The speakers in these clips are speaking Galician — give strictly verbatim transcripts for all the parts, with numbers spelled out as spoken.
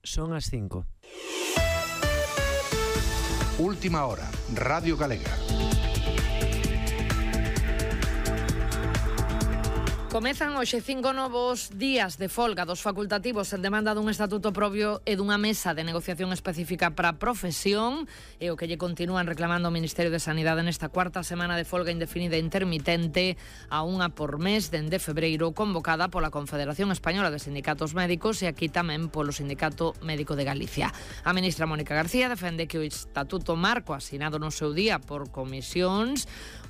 Son as cinco. Última hora, Radio Galega. Comezan hoxe cinco novos días de folga dos facultativos en demanda dun estatuto propio e dunha mesa de negociación específica para a profesión, e o que lle continúan reclamando o Ministerio de Sanidade nesta cuarta semana de folga indefinida e intermitente, a unha por mes dende febreiro, convocada pola Confederación Española de Sindicatos Médicos e aquí tamén polo Sindicato Médico de Galicia. A ministra Mónica García defende que o estatuto marco asinado no seu día por comisións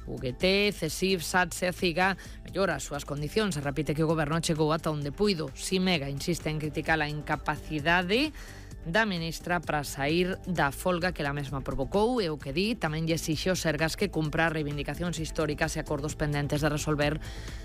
U G T, CESIF, SATSE e CIGA mellora as súas condicións e repite que o goberno chegou ata onde puido. Simega insiste en criticar a incapacidade da ministra para sair da folga que ela mesma provocou e o que di tamén lle exixe aos Sergas que cumpra reivindicacións históricas e acordos pendentes de resolver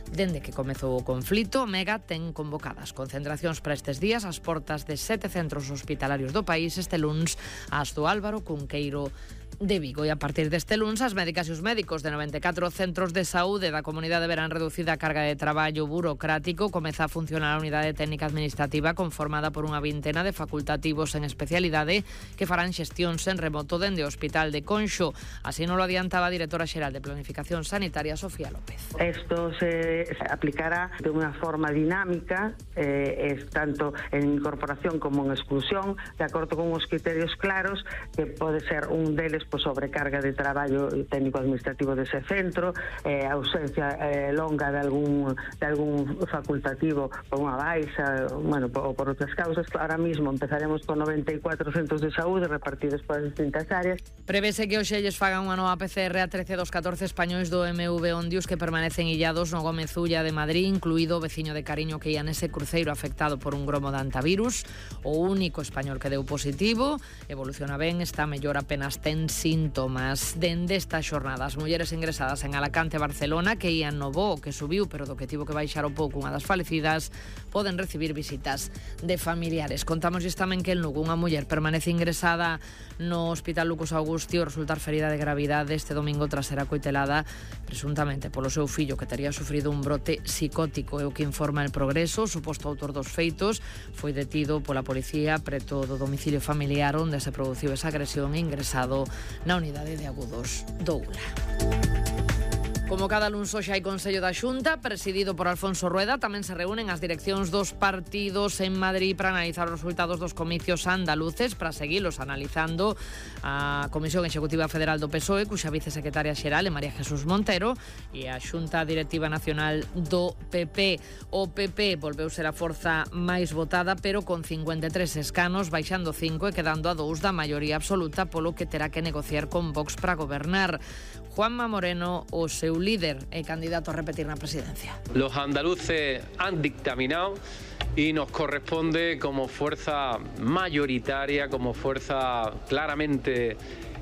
dende que comezou o conflito. Mega ten convocadas concentracións para estes días ás portas de sete centros hospitalarios do país este luns ás do Álvaro Cunqueiro de Vigo, e a partir deste luns as médicas e os médicos de noventa e catro centros de saúde da comunidade verán reducida a carga de traballo burocrático. Comeza a funcionar a unidade técnica administrativa conformada por unha vintena de facultativos en especialidade que farán xestións en remoto dende o Hospital de Conxo. Así non lo adiantaba a directora xeral de Planificación Sanitaria, Sofía López. Esto se aplicará de unha forma dinámica, eh, es tanto en incorporación como en exclusión, de acordo con os criterios claros, que pode ser un deles por sobrecarga de traballo técnico-administrativo dese centro, eh, ausencia eh, longa de algún, de algún facultativo por unha baixa, bueno, por, por outras causas. Ahora mismo empezaremos con noventa e catro centros de saúde repartidos por as distintas áreas. Prevese que hoxe lles fagan unha nova P C R a trece dos catorce españois do M V Ondius que permanecen illados no Gómez Ulla de Madrid, incluído o veciño de Cariño que ia nese cruceiro afectado por un gromo de antivirus. O único español que deu positivo evoluciona ben, está mellor, apenas ten síntomas. Dende esta xornada, as mulleres ingresadas en Alacante e Barcelona que ían no voo que subiu, pero do que tivo que baixar o pouco unha das falecidas, poden recibir visitas de familiares. Contámosles tamén que en Lugo unha muller permanece ingresada no Hospital Lucas Augustio resultar ferida de gravidade este domingo tras ser acoitelada presuntamente polo seu fillo que tería sufrido un brote psicótico. É o que informa El Progreso. O suposto autor dos feitos foi detido pola policía preto do domicilio familiar onde se produciu esa agresión e ingresado na unidade de agudos do U L A. Como cada luns hoxe hai Consello da Xunta, presidido por Alfonso Rueda. Tamén se reúnen as direccións dos partidos en Madrid para analizar os resultados dos comicios andaluces, para seguilos analizando a Comisión Executiva Federal do P S O E, cuxa vicesecretaria xeral é María Jesús Montero, e a Xunta Directiva Nacional do P P. O P P volveu ser a forza máis votada, pero con cincuenta e tres escanos, baixando cinco e quedando a dous da maioría absoluta, polo que terá que negociar con Vox para gobernar. Juanma Moreno, o seu líder e candidato a repetir na presidencia. Los andaluces han dictaminado y nos corresponde como fuerza mayoritaria, como fuerza claramente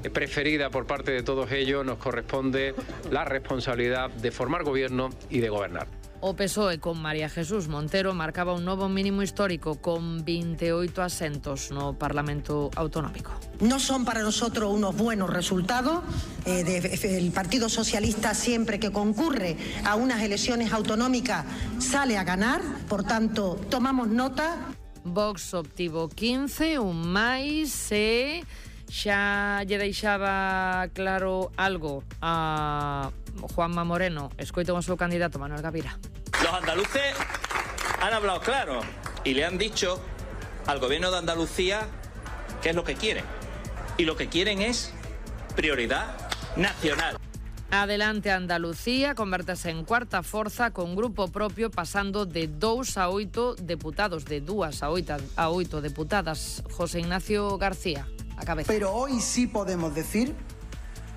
preferida por parte de todos ellos, nos corresponde la responsabilidad de formar gobierno y de gobernar. O P S O E con María Jesús Montero marcaba un novo mínimo histórico con veintiocho asentos no Parlamento Autonómico. No son para nosotros unos buenos resultados. Eh, de, el Partido Socialista siempre que concurre a unas elecciones autonómicas sale a ganar, por tanto tomamos nota. Vox obtivo quince, un máis e xa lle deixaba claro algo a Juanma Moreno. Escoito o seu candidato Manuel Gavira. Los andaluces han hablado claro y le han dicho al gobierno de Andalucía qué es lo que quieren. Y lo que quieren es prioridad nacional. Adelante Andalucía, convértese en cuarta forza con grupo propio, pasando de dous a oito deputados, de dúas a oito, a oito deputadas. José Ignacio García, a cabeza. Pero hoy sí podemos decir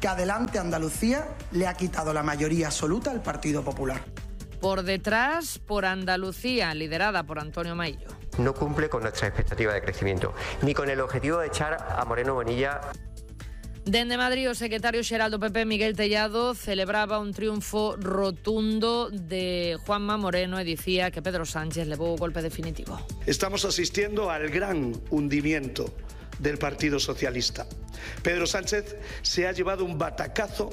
que Adelante Andalucía le ha quitado la mayoría absoluta al Partido Popular. Por detrás, por Andalucía, liderada por Antonio Maillo. No cumple con nuestra expectativa de crecimiento, ni con el objetivo de echar a Moreno Bonilla. Dende Madrid, o secretario xeral do P P, Miguel Tellado, celebraba un triunfo rotundo de Juanma Moreno e dicía que Pedro Sánchez levou o golpe definitivo. Estamos asistiendo al gran hundimiento del Partido Socialista. Pedro Sánchez se ha llevado un batacazo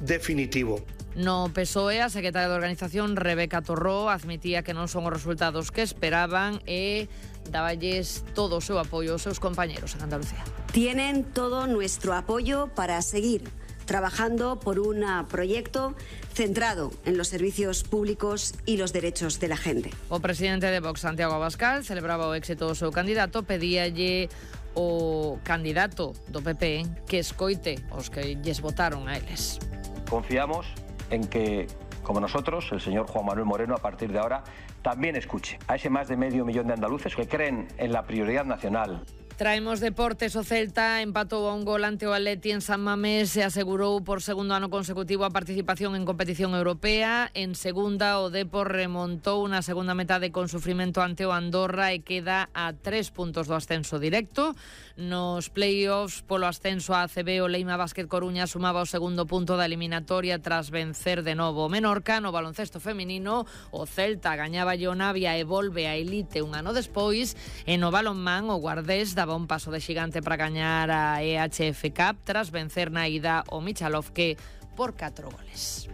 definitivo. No P S O E, a secretaria de Organización, Rebeca Torró, admitía que non son os resultados que esperaban e dáballes todo o seu apoio aos seus compañeros en Andalucía. Tienen todo nuestro apoyo para seguir trabajando por un proyecto centrado en los servicios públicos y los derechos de la gente. O presidente de Vox, Santiago Abascal, celebraba o éxito do seu candidato, pedíalle o candidato do P P que escoite os que lles votaron a eles. Confiamos en que, como nosotros, el señor Juan Manuel Moreno, a partir de ahora, también escuche a ese más de medio millón de andaluces que creen en la prioridad nacional. Traemos deportes. O Celta empatou a un gol ante o Atleti en San Mamés e asegurou por segundo ano consecutivo a participación en competición europea. En segunda, o Depor remontou na segunda metade con sufrimento ante o Andorra e queda a tres puntos do ascenso directo. Nos play-offs polo ascenso a A C B, o Leima Básquet Coruña sumaba o segundo punto da eliminatoria tras vencer de novo o Menorca. No baloncesto feminino, o Celta gañaba o Navia e volve a elite un ano despois. E no balonmán, o Guardés daba un paso de xigante para gañar a E H F Cup tras vencer na ida o Michalovke por catro goles.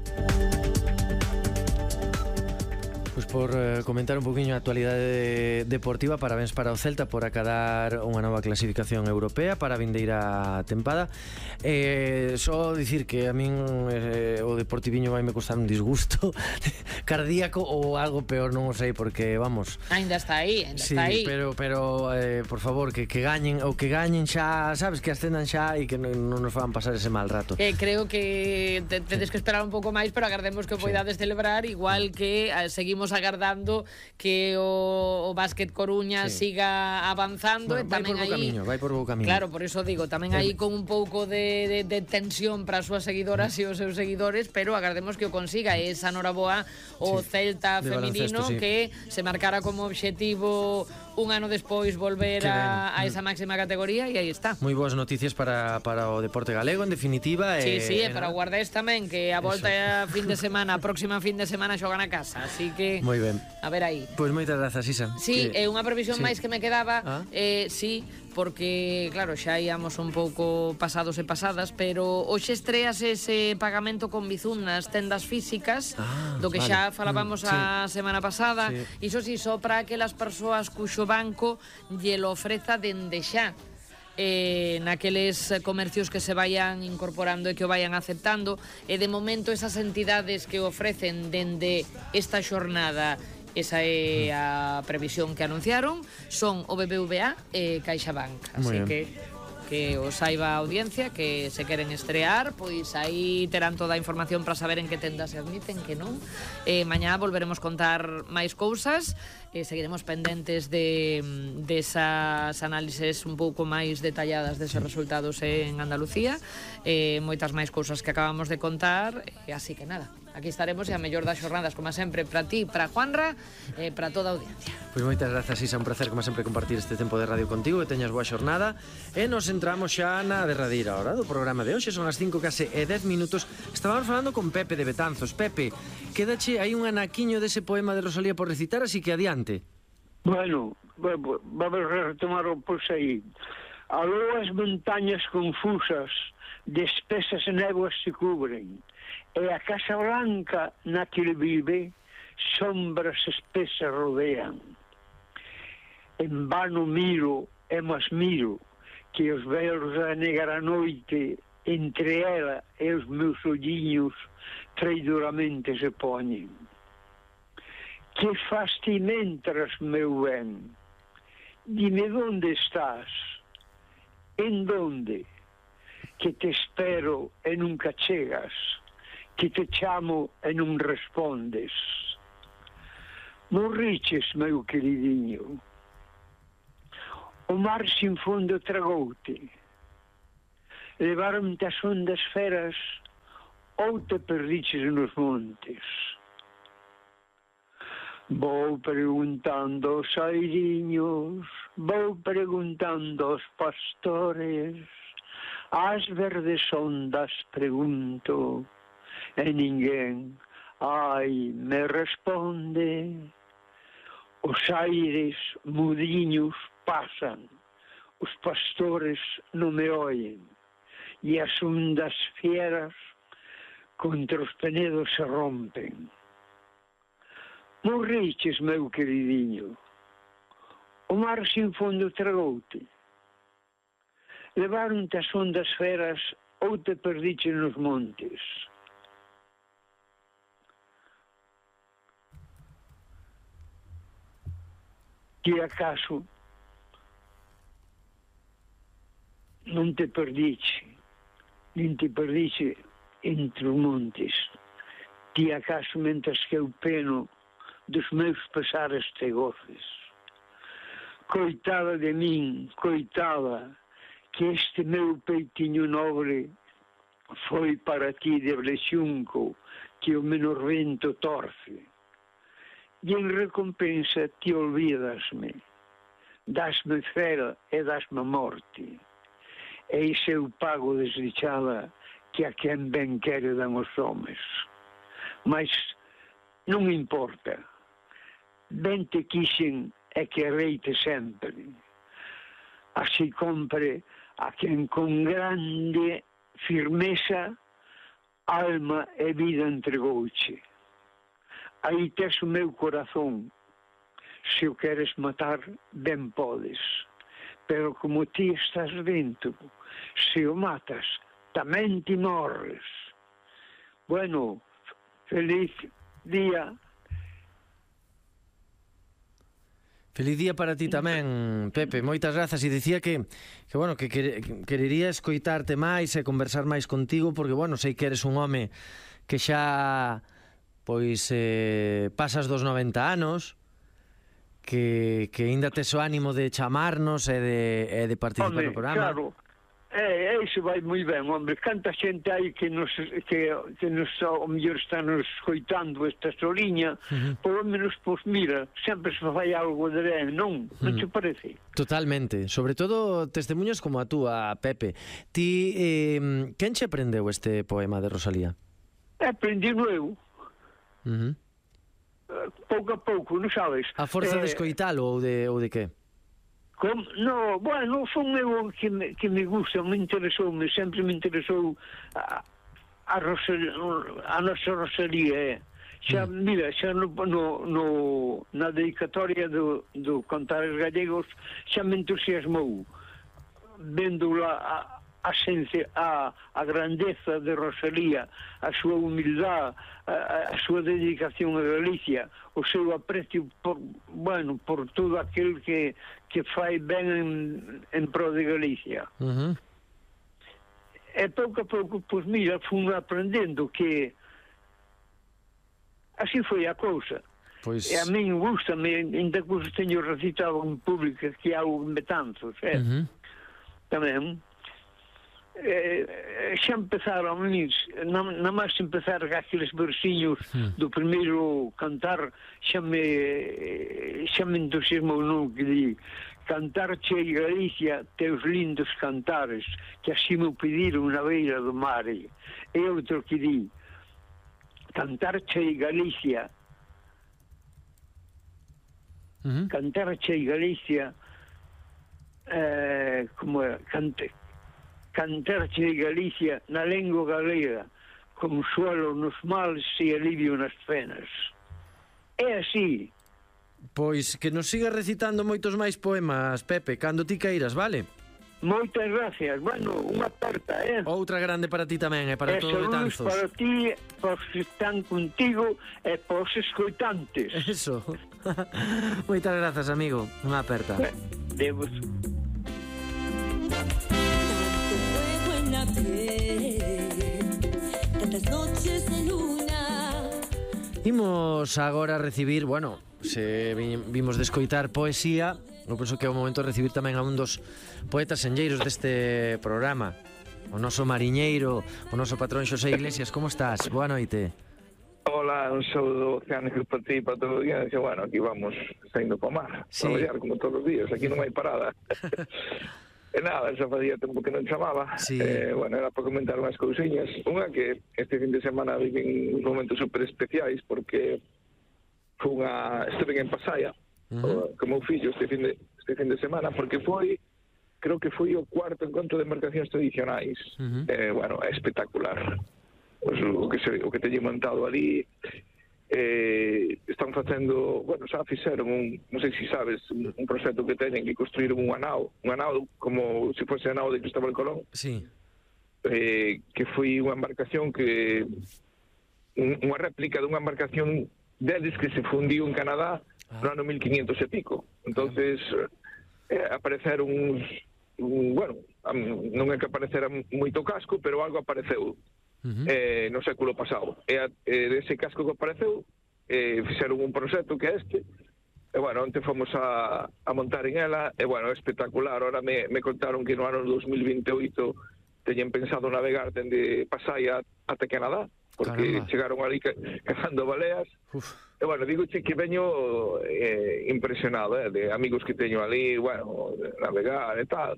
Pois por eh, comentar un poquinho a actualidade deportiva, parabéns para o Celta por acadar unha nova clasificación europea para a vindeira tempada. Eh, só dicir que a min eh, o Deportiviño vai me costar un disgusto cardíaco ou algo peor, non o sei, porque vamos. Ainda está aí, ainda sí, está aí. pero pero eh, por favor, que que gañen ou que gañen xa, sabes, que ascendan xa e que non, non nos van pasar ese mal rato. Eh, creo que te, tedes que esperar un pouco máis, pero agardemos que o poidades celebrar, igual que eh, seguimos agardando que o, o Básquet Coruña sí. siga avanzando. Bueno, e tamén vai por bo camiño, vai por bo camiño. Claro, por iso digo, tamén eh, aí con un pouco de, de, de tensión para as súas seguidoras e os seus seguidores, pero agardemos que o consiga. E esa noraboa o sí, Celta feminino sí. que se marcara como obxectivo un ano despois volver a, a esa máxima categoría, e aí está. Moi boas noticias para, para o deporte galego, en definitiva. Sí, eh, sí, e para o Guardés tamén, que a volta a fin de semana, a próxima fin de semana xogan a casa, así que moi ben. A ver aí. Pois moitas grazas, Isa. Sí, que... é unha previsión sí. máis que me quedaba, ah. eh, sí, porque, claro, xa íamos un pouco pasados e pasadas, pero hoxe estreas ese pagamento con Bizum nas tendas físicas, ah, do que vale. xa falábamos mm, a sí. semana pasada. Sí. Iso si, só para aquelas persoas cuxo banco lle lo ofreza dende xa. Eh, naqueles comercios que se vayan incorporando e que o vayan aceptando, e de momento esas entidades que ofrecen dende esta xornada, esa é a previsión que anunciaron, son o B B V A e CaixaBank, así que que o saiba a audiencia que se queren estrear, pois aí terán toda a información para saber en que tendas se admiten, que non. Eh, mañá volveremos contar máis cousas, e seguiremos pendentes de desas análises un pouco máis detalladas deses resultados en Andalucía, eh, moitas máis cousas que acabamos de contar, e así que nada, aquí estaremos, e a mellor das xornadas, como sempre, para ti, para Juanra, e para toda a audiencia. Pois moitas grazas, Isa, un placer, como sempre, compartir este tempo de radio contigo, que teñas boa xornada, e nos entramos xa na derradeira hora do programa de hoxe. Son as cinco case e dez minutos. Estábamos falando con Pepe de Betanzos. Pepe, quédache aí un anaquiño dese poema de Rosalía por recitar, así que adiante. Bueno, vamos a retomar o pois aí. Aló as montañas confusas de espesas néboas se cubren, e a Casa Blanca na que ele vive sombras espesas rodean. En vano miro e mas miro que os velos da negra noite entre ela e os meus olliños traidoramente se poñen. Que faz ti mentras, meu ben? Dime onde estás? En donde? Que te espero e nunca chegas, que te chamo e non respondes. Morriches, meu queridinho. O mar sin fondo tragoute. Levaron-te as ondas feras ou te perdiches nos montes. Vou preguntando aos airiños, vou preguntando aos pastores, ás verdes ondas pregunto, e ninguén, ai, me responde. Os aires mudiños pasan, os pastores non me oyen, e as ondas fieras contra os penedos se rompen. Morriches, meu queridinho. O mar sin fondo tragoute. Levaron-te as ondas feras ou te perdiche nos montes. Que acaso non te perdiche, nin te perdiche entre os montes. Ti acaso mentres que eu peno dos meus pesares te goces. Coitada de min, coitada, que este meu peitinho nobre foi para ti de brexunco que o menor vento torce. E en recompensa ti olvidasme, dasme fera e dasme morte. E ise eu pago desdichada que a quen ben quere dan os homes. Mas non importa, ben te quixen e quereite sempre. Así compre a quen con grande firmeza alma e vida entregouche. Aí tes o meu corazón. Se o queres matar, ben podes. Pero como ti estás dentro, se o matas, tamén ti morres. Bueno, feliz día. Feliz día para ti tamén, Pepe. Moitas grazas. E dicía que, que bueno, que, que querería escoitarte máis e conversar máis contigo, porque, bueno, sei que eres un home que xa... pois eh, pasas dos noventa anos, que, que ainda tes o ánimo de chamarnos e de, e de participar hombre, no programa. Claro, é, iso vai moi ben, hombre. Canta xente aí que nos, que, que nos ao mellor están nos escoitando esta soliña, uh-huh. Por lo menos, pois mira, sempre se fai algo de ben, non? Non uh-huh. Te parece? Totalmente, sobre todo testemunhas como a túa, Pepe. Ti, eh, quen che aprendeu este poema de Rosalía? Aprendi eu. Uh-huh. Pouco a pouco, non sabes? A forza eh, de escoitalo ou de, ou de que? Com, no, bueno, foi eu que me, que me gusta, me interesou, me sempre me interesou a, a, Rosalía, a nosa Rosalía, eh. Xa, mm. mira, xa no, no, no, na dedicatoria do, do Cantares Gallegos xa me entusiasmou vendo a, a, a, a grandeza de Rosalía, a súa humildade, a, a súa dedicación a Galicia, o seu aprecio por, bueno, por todo aquel que, que fai ben en, en pro de Galicia. Uh-huh. E pouco a pouco, pois mira, fui aprendendo que así foi a cousa. Pois... E a min gusta-me, ainda que os teño recitado en público que há un metanzos, eh? Uh-huh. Tamén. Eh, xa empezaron a mí, na máis empezar aqueles versiños hmm. do primeiro cantar, xa me xa me entusiasmou, non, que di cantar che Galicia teus lindos cantares que así me pediron na beira do mar. E outro que di cantar che Galicia uh-huh. cantar che Galicia eh, como é, cante cantarche Galicia na lengua galega, consuelo nos males e alivio nas penas. É así. Pois que nos siga recitando moitos máis poemas, Pepe, cando ti queiras, vale? Moitas gracias. Bueno, unha aperta, eh? Outra grande para ti tamén, e para todos os Betanzos. Para ti, para os que están contigo e para os escoitantes. Eso. Moitas grazas, amigo. Unha aperta. Debos. Imos agora a recibir, bueno, se vimos de escoitar poesía, eu penso que é o momento de recibir tamén a un dos poetas enlleiros deste programa, o noso mariñeiro, o noso patrón Xosé Iglesias. Como estás? Boa noite. Hola, un saúdo oceánico para ti, para todo o día. Bueno, aquí vamos saindo para o mar, sí. Traballar como todos os días, aquí non hai parada. E nada, xa facía tempo que non chamaba. Sí. Eh, bueno, era para comentar unhas cousiñas. Unha que este fin de semana viven uns momentos super especiais porque unha... estuve en Pasaia, uh-huh. como fillo este fin de, este fin de semana, porque foi, creo que foi o cuarto encontro de embarcacións tradicionais. Uh-huh. Eh, bueno, é espectacular. pues, o que se, o que teñen montado ali. Eh, están facendo, bueno, xa fixeron un, non sei se sabes, un, un proxecto que teñen que construíron unha nao, unha nao como se fose a nao de Cristóbal Colón. Sí. Eh, que foi unha embarcación que un, unha réplica dunha embarcación deles que se fundiu en Canadá ah. no ano mil quinientos e pico. Entonces eh, apareceron uns, un, bueno, non é que aparecera moito casco, pero algo apareceu. Uh-huh. Eh, no século pasado e a, eh, dese casco que apareceu eh, fixeron un proxecto que é este e bueno, onte fomos a, a montar en ela e bueno, é espectacular. Ahora me, me contaron que no ano dos mil vinte e oito teñen pensado navegar dende Pasaia ata Canadá porque Caramba. Chegaron ali cazando baleas. Uf. E bueno, digo che que veño eh, impresionado eh, de amigos que teño ali, bueno, navegar e tal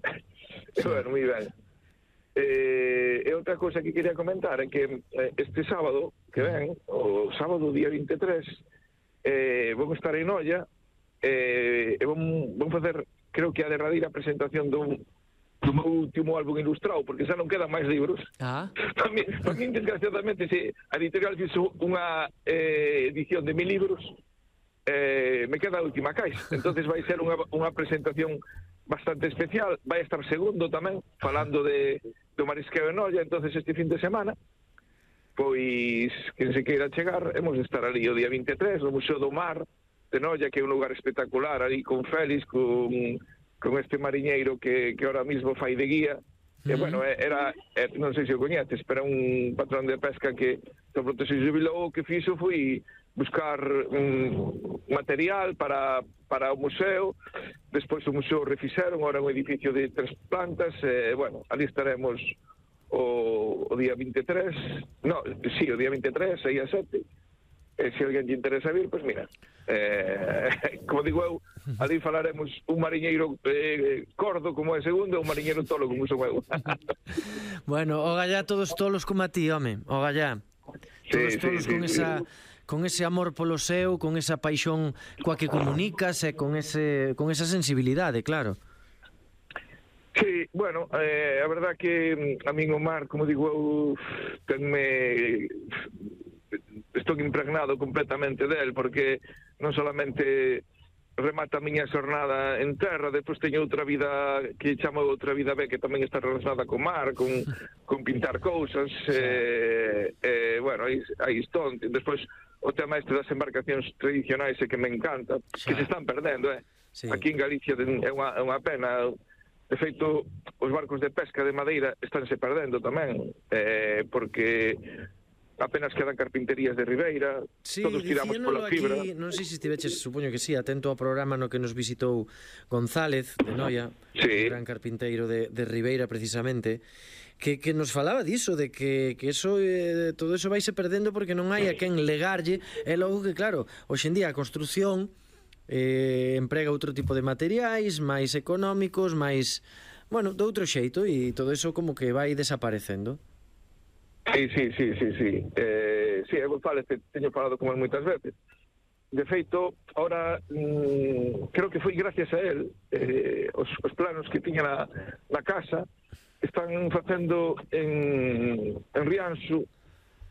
sí. E bueno, moi ben. Eh, e outra cousa que quería comentar é que eh, este sábado que ven, o sábado día vinte e tres, eh, vamos estar en Noia eh, e vamos, vamos facer, creo que a derradeira presentación dun, do meu último álbum ilustrado, porque xa non quedan máis libros. Ah. Para mí, para mí desgraciadamente, se a editorial fixo unha eh, edición de mil libros, eh, me queda a última caixa. Entonces vai ser unha, unha presentación bastante especial. Vai estar segundo tamén, falando de do marisqueo en Noia. Entonces este fin de semana, pois, quen se queira chegar, hemos de estar ali o día vinte e tres, no Museo do Mar de Noia, que é un lugar espectacular, ali con Félix, con, con este mariñeiro que, que ahora mismo fai de guía. Mm. E, bueno, era, era, non sei se o coñeces, pero un patrón de pesca que de pronto se jubilou, o que fixo foi buscar um, material para, para o museo. Despois o museo refixeron, ahora un edificio de tres plantas, e, bueno, ali estaremos o, o día vinte e tres, no, sí, o día vinte e tres, seis a sete, e se alguén lle interesa vir, pois mira, eh, como digo eu, ali falaremos un mariñeiro eh, cordo como é segundo e un mariñeiro tolo como son eu. Bueno, o gallá todos tolos como a ti, home, o gallá. Todos sí, tolos sí, con sí, esa... Sí. Con ese amor polo seu, con esa paixón coa que comunicas e con ese con esa sensibilidade, claro. Sí, bueno, eh, a verdad que a min o mar, como digo eu, tenme... estou impregnado completamente del, porque non solamente remata a miña xornada en terra, depois teño outra vida que chamo outra vida B, que tamén está relacionada con mar, con, con pintar cousas, e, eh, eh, bueno, aí, aí estou. Despois o tema este das embarcacións tradicionais é que me encanta, xa. Que se están perdendo, eh? Sí. Aquí en Galicia é unha, é unha pena. De feito, os barcos de pesca de madeira estánse perdendo tamén, eh, porque apenas quedan carpinterías de ribeira, sí, todos tiramos pola fibra. Aquí, non sei se estiveches, supoño que sí, atento ao programa no que nos visitou González de Noia, sí. Un gran carpinteiro de, de Ribeira precisamente, que, que nos falaba diso, de que, que eso, eh, todo eso vaise perdendo porque non hai a quen legarlle, e logo que claro, hoxe en día a construción eh, emprega outro tipo de materiais máis económicos, máis, bueno, de outro xeito, e todo eso como que vai desaparecendo. Sí, sí, sí, sí, sí. Eh, sí, eu González teño falado con él moitas veces. De feito, ahora mmm, creo que foi gracias a él, eh, os, os planos que tiña na, na casa están facendo en, en Rianxo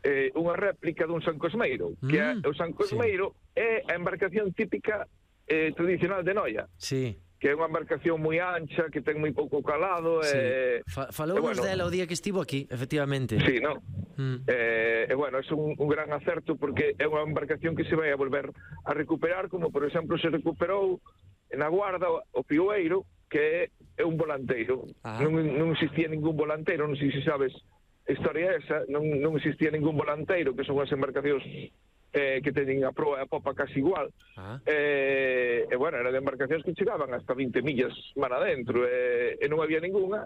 eh, unha réplica dun San Cosmeiro, mm, que é, o San Cosmeiro sí. É a embarcación típica eh, tradicional de Noia. Sí. Que é unha embarcación moi ancha, que ten moi pouco calado. Sí. E, Fa Falou bueno, dela o día que estivo aquí, efectivamente. Sí, non? Mm. E, e, bueno, é un, un gran acerto porque é unha embarcación que se vai a volver a recuperar, como, por exemplo, se recuperou na Guarda o Pioeiro, que é un volanteiro. Ah. Non, non existía ningún volanteiro, non sei se sabes a historia esa, non, non existía ningún volanteiro, que son as embarcacións eh, que teñen a proa e a popa casi igual. Ah. Eh, e, bueno, eran embarcacións que chegaban hasta vinte millas mar adentro, e, e non había ninguna.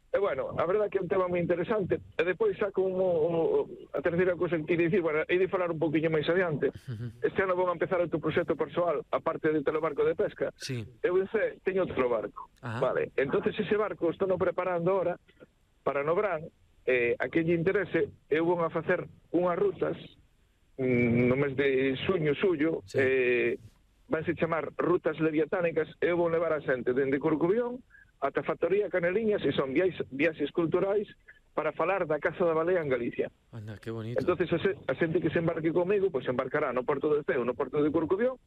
E, bueno, a verdade que é un tema moi interesante. E depois xa como a terceira cousa que queria dicir, bueno, hei de falar un pouquinho máis adiante. Uh-huh. Este ano vou a empezar outro proxecto persoal, aparte de telebarco de pesca. Sí. Eu pensei, teño outro barco. Uh-huh. Vale, entonces ese barco estou no preparando ahora para no verán, eh, a que lle interese, eu vou a facer unhas rutas mm, no mes de xuño, xullo, sí. eh, vanse chamar rutas leviatánicas, e eu vou levar a xente dende Corcubión ata Factoría Caneliñas, e son viaxes, viaxes culturais para falar da caza da balea en Galicia. Anda, que bonito. Entonces a, se, a xente que se embarque comigo, pois se embarcará no Porto de Ceo, no Porto de Corcubión,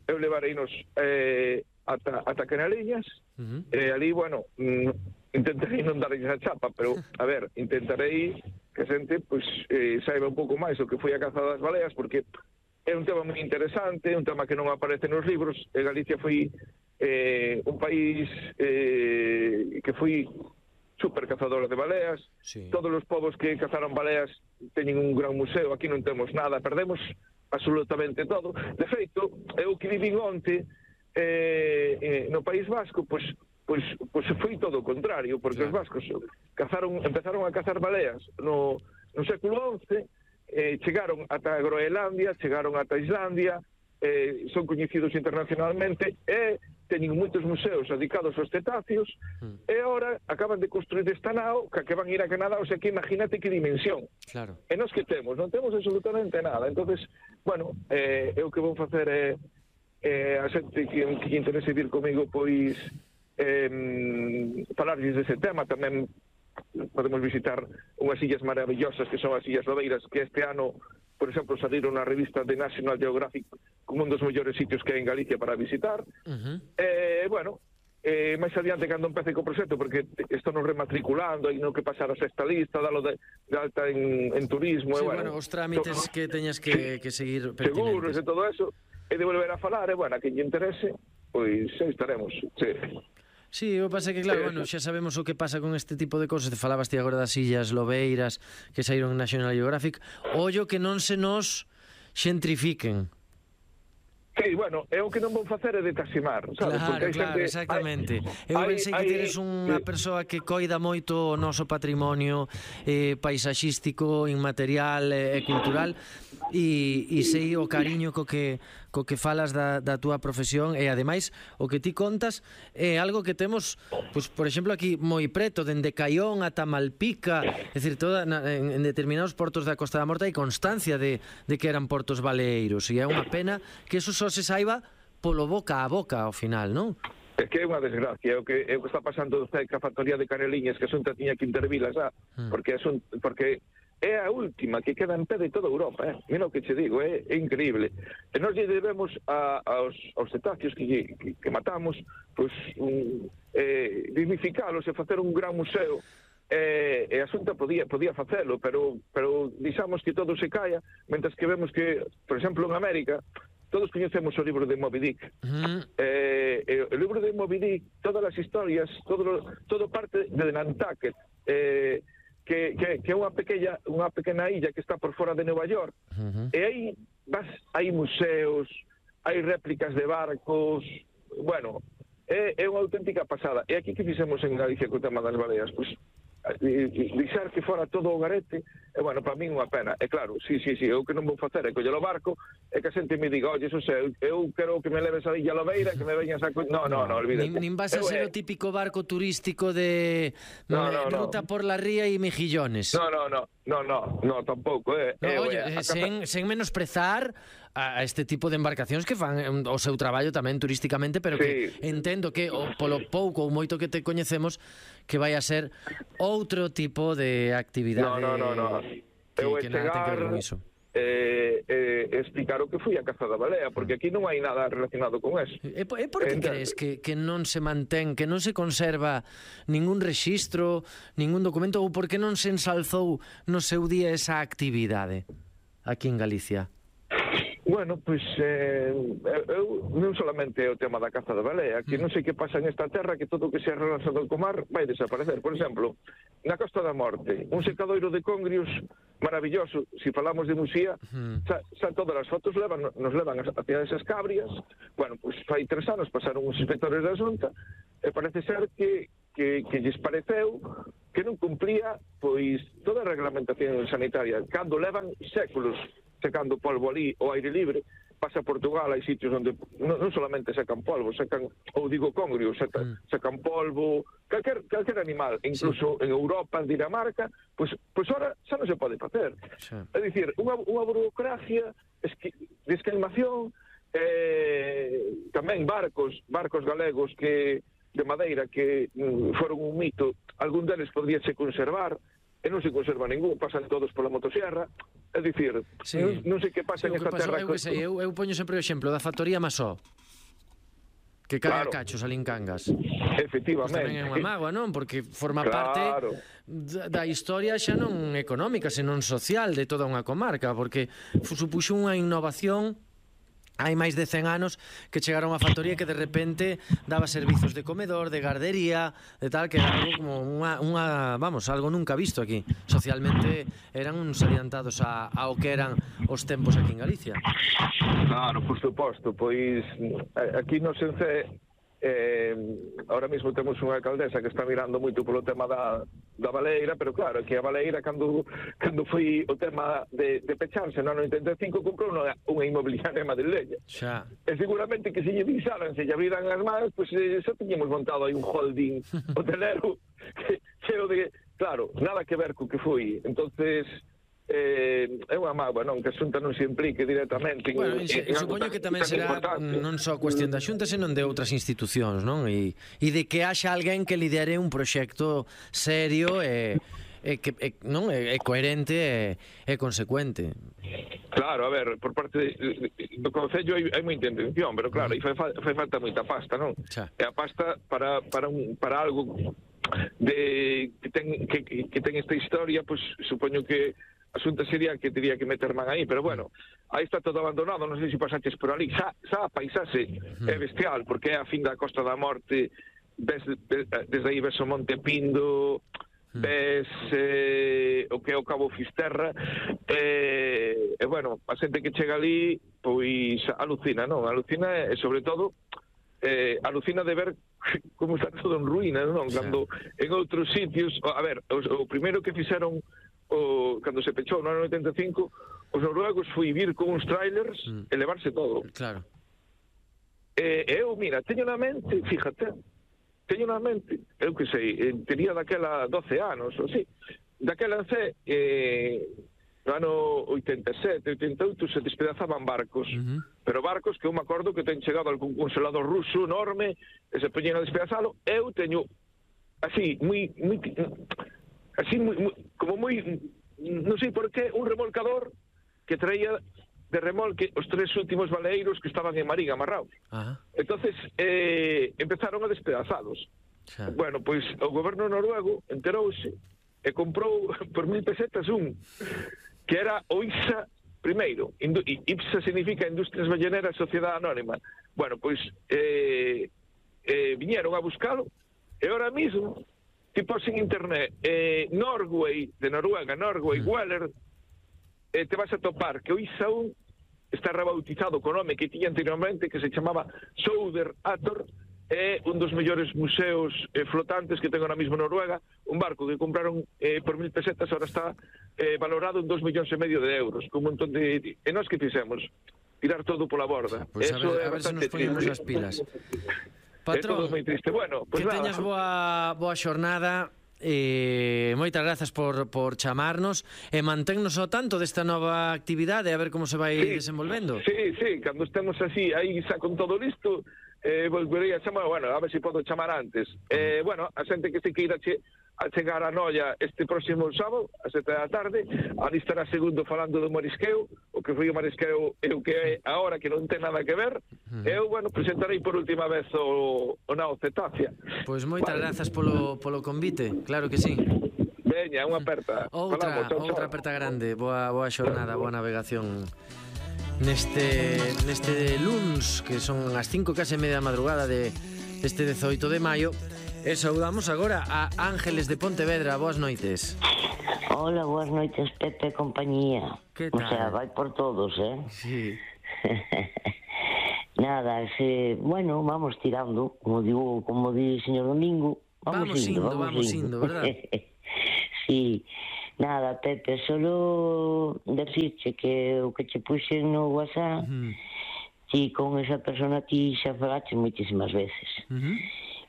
eu levareinos eh, ata, ata Canaliñas, uh -huh. e ali, bueno, mm, intentarei non darlles a chapa, pero, a ver, intentarei que a xente, pois, eh, saiba un pouco máis o que foi a caza das baleas, porque é un tema moi interesante, un tema que non aparece nos libros, e Galicia foi eh, un país eh, que foi super cazadora de baleas, sí. Todos os povos que cazaron baleas teñen un gran museo, aquí non temos nada, perdemos absolutamente todo. De feito, eu que vivín onte eh, eh, no País Vasco, pois, pois, pois foi todo o contrario, porque claro. Os vascos cazaron, empezaron a cazar baleas no, no século once, eh, chegaron ata Groenlandia, chegaron ata Islandia, eh, son coñecidos internacionalmente, e teñen moitos museos dedicados aos cetáceos, mm. e agora acaban de construir esta nao que, que van ir a Canadá, o sea que imagínate que dimensión. Claro. E nós que temos, non temos absolutamente nada. Entonces, bueno, eh, eu que vou facer é eh, a xente que, que interese vir comigo, pois eh, falarlles dese tema. Tamén podemos visitar unhas illas maravillosas que son as Illas Lobeiras, que este ano, por exemplo, saliron na revista de National Geographic como un dos mellores sitios que hai en Galicia para visitar. Uh-huh. Eh, bueno, eh, máis adiante cando empece co proxecto, porque isto nos rematriculando, hai no que pasar a sexta lista, dalo de, de alta en, en turismo. Sí, e, bueno, bueno, os trámites to... que teñas que, que seguir pertinentes. Seguros e todo eso, e de volver a falar, e, bueno, a quen lle interese, pois aí estaremos, sí. Sí, o que pasa é que, claro, bueno, xa sabemos o que pasa con este tipo de cosas. Te falabas ti agora das Illas Lobeiras que saíron en National Geographic. Ollo que non se nos xentrifiquen. Sí, bueno, é o que non vou facer é de taximar, sabes? Claro, Porque claro, xente, exactamente. Hai, Eu pensei que hai, teres unha persoa que coida moito o noso patrimonio eh, paisaxístico, inmaterial e eh, cultural, e, e sei o cariño co que co que falas da, da túa profesión, e ademais o que ti contas é algo que temos, pues, por exemplo, aquí moi preto, dende Caión ata Malpica, é dicir, toda, na, en, en determinados portos da Costa da Morte hai constancia de, de que eran portos baleiros, e é unha pena que eso só se saiba polo boca a boca ao final, non? É que é unha desgracia, é o que, é o que está pasando cerca a factoría de Caneliñas, que a Xunta tiña que intervila xa, mm. porque, a Xunta, porque é a última que queda en pé de toda Europa, eh? Mira o que che digo, é, é increíble. E nós lle debemos a, aos, aos cetáceos que, que, que matamos, pois, un, eh, dignificalos e facer un gran museo. E, e a Xunta podía, podía facelo, pero, pero dixamos que todo se caia, mentres que vemos que, por exemplo, en América, todos coñecemos o libro de Moby Dick. Uh-huh. eh, eh, o libro de Moby Dick, todas as historias, todo, todo parte de Nantucket, eh, que, que, que é unha pequena, unha pequena illa que está por fora de Nova York. Uh-huh. E aí vas, hai museos, hai réplicas de barcos, bueno, é, é unha auténtica pasada. E aquí que fixemos en Galicia co tema das baleas, pois, deixar que fora todo o garete, e, bueno, para min unha pena. E claro, sí, sí, sí, eu que non vou facer é coller o barco e que a xente me diga, oye, eso sei, eu quero que me leves a Illa Lobeira, que me veñas a... No, no, no, olvídate. Nin, nin vas a ser o típico barco turístico de no, no, ruta no. por la ría e mejillones. No, no, no, no, no, no, tampouco, eh. No, eh oye, eh, sen, sen menosprezar a este tipo de embarcacións que fan o seu traballo tamén turísticamente, pero que sí. Entendo que o, polo pouco ou moito que te coñecemos que vai a ser outro tipo de actividade. No, no, no, no. Que, eu que nada ten que ver con iso. Eh, eh, explicar o que foi a caza da balea, porque aquí non hai nada relacionado con eso. E, e por que Entonces, crees que, que non se mantén, que non se conserva ningún rexistro, ningún documento, ou por que non se ensalzou no seu día esa actividade aquí en Galicia? Bueno, pois eh, eu non solamente é o tema da caza da balea, que non sei que pasa nesta terra, que todo o que sea relacionado co mar vai desaparecer. Por exemplo, na Costa da Morte, un secadoiro de congrios maravilloso. Si falamos de Muxía, uh-huh. xa, xa todas as fotos levan, nos levan hacia esas cabrias. Bueno, pois fai tres anos pasaron os inspectores da Xunta e parece ser que, que, que lles pareceu que non cumplía pois toda a reglamentación sanitaria, cando levan séculos secando polvo ali ao aire libre. Pasa a Portugal, hai sitios onde non, non solamente secan polvo, secan, ou digo congrio, secan, mm. secan polvo, calquer, calquer animal, incluso sí. En Europa, en Dinamarca, pois, pois ahora xa non se pode facer. Sí. É dicir, unha, unha burocracia esqui, de esquemación, eh, tamén barcos, barcos galegos que de madeira que mm, foron un mito, algún deles podríase conservar, e non se conserva ningún, pasan todos pola motosierra, é dicir, Sí. non, non sei que pasa Sí, en o que esta pasou, terra. eu, que sei, eu, eu poño sempre o exemplo da factoría Masó, que cae Claro. a cachos ali en Cangas. Efectivamente. Pues tamén é unha mágoa, non? Porque forma Claro. parte da, da historia xa non económica, senón social de toda unha comarca, porque fu- supuxo unha innovación hai máis de cen anos que chegaron a factoría que de repente daba servizos de comedor, de gardería, de tal, que era algo como unha, unha vamos, algo nunca visto aquí. Socialmente eran uns adiantados a, ao que eran os tempos aquí en Galicia. Claro, por suposto, pois eh, aquí no Sense eh, ahora mesmo temos unha alcaldesa que está mirando moito polo tema da, da baleira, pero claro, que a baleira cando, cando foi o tema de, de pecharse no ano oitenta e cinco comprou unha, unha inmobiliaria en Madrileña. Xa. E seguramente que se lle visaran, se lle abriran as mans, pois pues, eh, xa teñemos montado aí un holding hotelero que cheo de, claro, nada que ver co que foi. Entonces eh, é unha mágoa, non, que a Xunta non se implique directamente en, Bueno, en, en, en algo supoño tan- que tamén tan será importante. non só cuestión da Xunta, senón de outras institucións, non? E, e de que haxa alguén que lidere un proxecto serio e, e que e, non é, é coherente e, e consecuente. Claro, a ver, por parte de, do Concello hai, hai moita intención, pero claro, aí fai, fa- fai falta moita pasta, non? Xa. E a pasta para, para, un, para algo de que ten, que, que ten esta historia, pues supoño que a Xunta sería que teria que meter man aí, pero bueno, aí está todo abandonado, non sei se pasaches por ali, xa, xa a paisaxe é bestial, porque é a fin da Costa da Morte, ves, ves, desde aí ves o Monte Pindo, ves eh, o que é o Cabo Fisterra, e, e bueno, a xente que chega ali, pois alucina, non? Alucina e, sobre todo, eh, alucina de ver como está todo en ruínas, non? Cando en outros sitios, a ver, o, o primeiro que fixeron o, cando se pechou no ano oitenta e cinco, os noruegos foi vir con uns trailers mm. e levarse todo. Claro. E eu, mira, teño na mente, fíjate, teño na mente, eu que sei, tería daquela doce anos, ou si, daquela sé, eh, no ano oitenta e sete, oitenta e oito se despedazaban barcos, uh-huh. pero barcos que eu me acordo que ten chegado algún congelador ruso enorme e se poñen a despedazalo. Eu teño así, moi, moi así, moi, moi, como moi, non sei por qué, un remolcador que traía de remolque os tres últimos baleiros que estaban en Marín amarrados. Ajá. Entonces eh, empezaron a despedazalos. Xa. Bueno, pois o goberno noruego enterouse e comprou por mil pesetas un, que era o I P S A primeiro. Indu I P S A significa Industrias Balleneras Sociedade Anónima. Bueno, pois eh, eh, viñeron a buscalo e ahora mismo tipo en internet eh, Norway, de Noruega, Norway, mm. Weller, eh, te vas a topar que o I S A un está rebautizado co nome que tiña anteriormente, que se chamaba Souder Ator, é un dos mellores museos eh, flotantes que ten ahora mismo Noruega, un barco que compraron eh, por mil pesetas, ahora está eh, valorado en dos millóns e medio de euros, con un montón de... E nós que fixemos? Tirar todo pola borda. Pois pues a ver, a ver se nos poñemos as pilas. Patrón, é todo moi triste. Bueno, pues que nada. teñas boa, boa xornada. Eh, moitas grazas por, por chamarnos e manténnos ao tanto desta nova actividade, a ver como se vai sí, desenvolvendo. Sí, sí, cando estemos así aí xa con todo listo, eh, volverei a chamar, bueno, a ver se podo chamar antes. Eh, bueno, a xente que se queira che, a chegar a Noia este próximo sábado a sete da tarde, ali estará segundo falando do marisqueo, o que foi o marisqueo e o que é agora, que non ten nada que ver. Uh-huh. Eu, bueno, presentarei por última vez o, o Nao Cetácea. Pois moitas vale. grazas polo, polo convite, claro que sí. Veña, unha aperta. Outra, Falamos, chau, outra chau. aperta grande. Boa, boa xornada, boa navegación neste, neste luns, que son as cinco case media da madrugada de, deste dezoito de maio. E saudamos agora a Ángeles de Pontevedra. Boas noites. Hola, boas noites, Pepe e compañía. Que tal? O sea, vai por todos, eh? Sí. Nada, se, bueno, vamos tirando, como digo, como di o señor Domingo, vamos, vamos indo, indo, vamos, vamos indo, indo, verdad? Sí. Nada, Pepe, solo decirche que o que che puxen no WhatsApp, uh-huh. ti con esa persona ti xa falaches moitísimas veces. Uh-huh.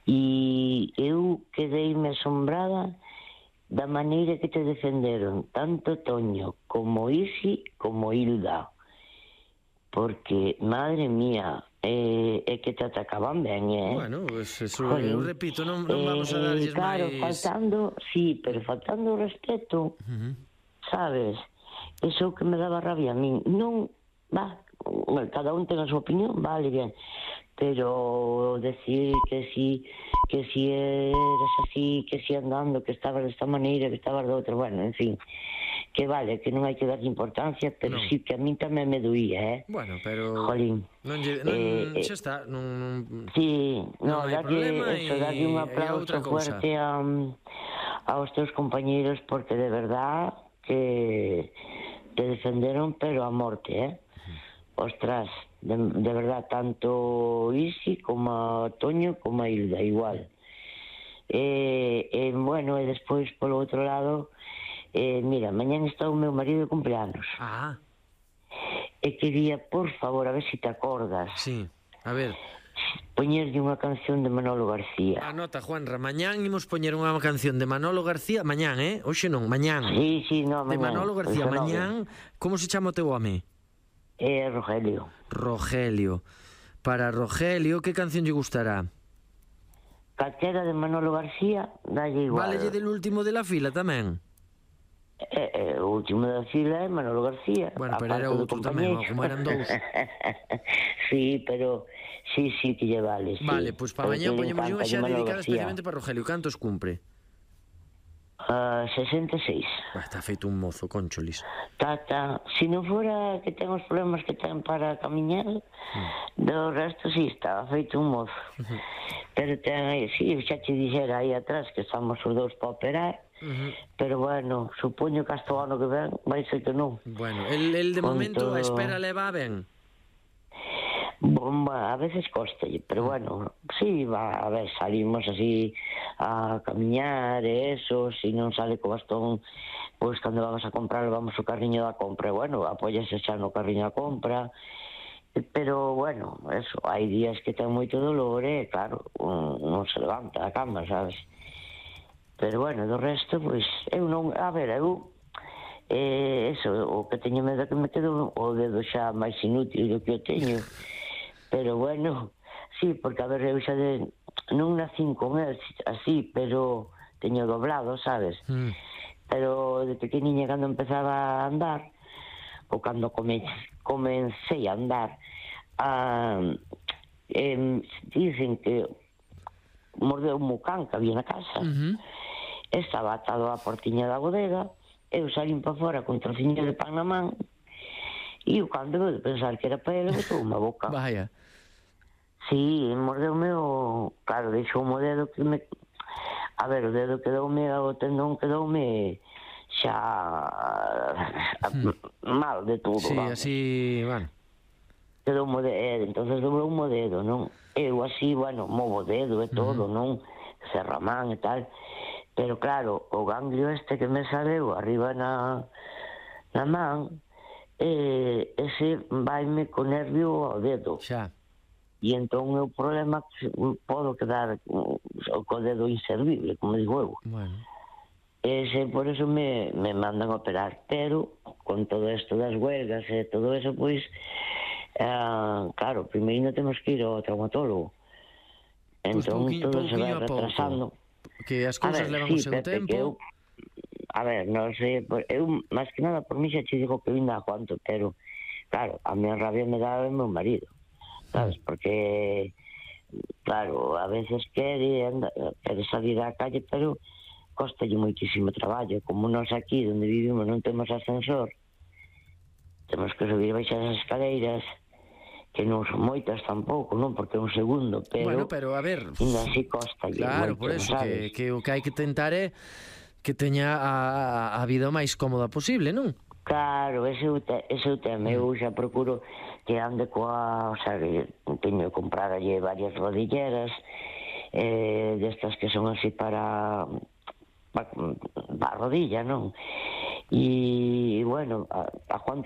E eu quedeime asombrada da maneira que te defenderon tanto Toño como Isi como Hilda, porque, madre mía, e, e que te atacaban ben, eh? Bueno, pues eso, eu repito, non, non vamos a darlles claro, máis... faltando, sí, pero faltando o respeto, uh-huh. sabes? Eso que me daba rabia a min. Non, va, cada un ten a súa opinión, vale, bien, pero decir que si que si eras así, que si andando, que estabas desta maneira, que estabas de outra, bueno, en fin, que vale, que non hai que dar importancia, pero non. sí que a min tamén me doía, eh? Bueno, pero... Jolín. Non, lle, non eh, xa está, non... non sí, no, non hai darlle, problema eso, e, darlle un e aplauso outra cousa. fuerte a, aos teus compañeiros, porque de verdad que te defenderon, pero a morte, eh? Ostras, de, de verdad, tanto Isi como a Toño como a Hilda, igual. E, e bueno, e despois, polo outro lado, eh, mira, mañán está o meu marido de cumpleanos. Ah. E quería, por favor, a ver se te acordas. Sí, a ver. Poñerlle unha canción de Manolo García. Anota, Juanra, mañán imos poñer unha canción de Manolo García, mañán, eh? Hoxe non, mañán. Sí, sí, no, mañán. De Manolo García, mañán. Como se chama o teu home? Eh, Rogelio. Rogelio. Para Rogelio, que canción lle gustará? Calquera de Manolo García, dalle igual. Válelle del último de la fila tamén? Eh, eh, o último da fila é Manolo García. Bueno, pero era outro tamén, como eran dous. Sí, pero sí, sí que lle vale, sí. Vale, pois para mañá poñemos unha xa dedicada especialmente para Rogelio. Cantos cumpre? Uh, sesenta e seis. Bah, está feito un mozo, concholis. Tata, se non fora que ten os problemas que ten para camiñar, mm. do resto sí, estaba feito un mozo. Uh-huh. Pero ten aí, sí, xa te dixera aí atrás que estamos os dous para operar, uh-huh. Pero bueno, supoño que hasta o ano que ven vai ser que non. Bueno, el, el de Con momento todo... a espera leva ben? Bomba, a veces costalle, pero bueno, sí, va, a ver, salimos así a camiñar e eso, si non sale co bastón, pois cando vamos a comprar vamos o carriño da compra, bueno, apóyase xa no carriño da compra, pero bueno, eso, hai días que ten moito dolor e claro, non se levanta da cama, sabes? Pero bueno, do resto, pois, eu non, a ver, eu eh, eso, o que teño medo que me quedo o dedo xa máis inútil do que eu teño. Pero bueno, sí, porque a ver, eu xa de... non nacín con el así, pero teño doblado, sabes? Mm. Pero de pequeniña cando empezaba a andar, ou cando come, comencei a andar, a, eh, dicen que mordeu un mucán que había na casa, uh-huh. Estaba atado á portiña da bodega, eu salín para fora con trociño de pan na man, e eu cando veu de pensar que era para ele, botou unha boca. Vaya. Sí, mordeume o... Claro, deixou o dedo que me... A ver, o dedo quedoume, o tendón quedoume xa... Hmm. mal de todo, sí, vamos. así, bueno. Quedoume o dedo, entonces dobrou o dedo, non? Eu así, bueno, movo o dedo e todo, uh-huh. Non? Cerramán e tal. Pero claro, o ganglio este que me saleu arriba na, na man, eh, ese vaime co nervio ao dedo. Xa. E entón o problema que podo quedar co dedo inservible, como digo eu. Bueno. Ese, por eso me, me mandan operar, pero con todo isto das huelgas e todo eso, pois, eh, claro, primeiro temos que ir ao traumatólogo. Entón pues todo se vai retrasando. Que as cousas levan o seu tempo. Eu, a ver, non sei, eu, máis que nada, por mí xa te digo que eu ainda aguanto, pero, claro, a minha rabia me dá o meu marido. ¿Sabes? Porque, claro, a veces quere, anda, quere salir á calle, pero costalle moitísimo traballo. Como nós aquí, onde vivimos, non temos ascensor, temos que subir baixas as escaleiras, que non son moitas tampouco, non? Porque é un segundo, pero... Bueno, pero a ver... Ainda así costalle. Claro, moito, por eso, sabes? que, que o que hai que tentar é que teña a, a vida o máis cómoda posible, non? Claro, ese é o, te, ese é o tema. Eu xa procuro que ande coa... O sea, que teño que comprar allí varias rodilleras, eh, destas que son así para... para, para a rodilla, non? E, bueno, a, a Juan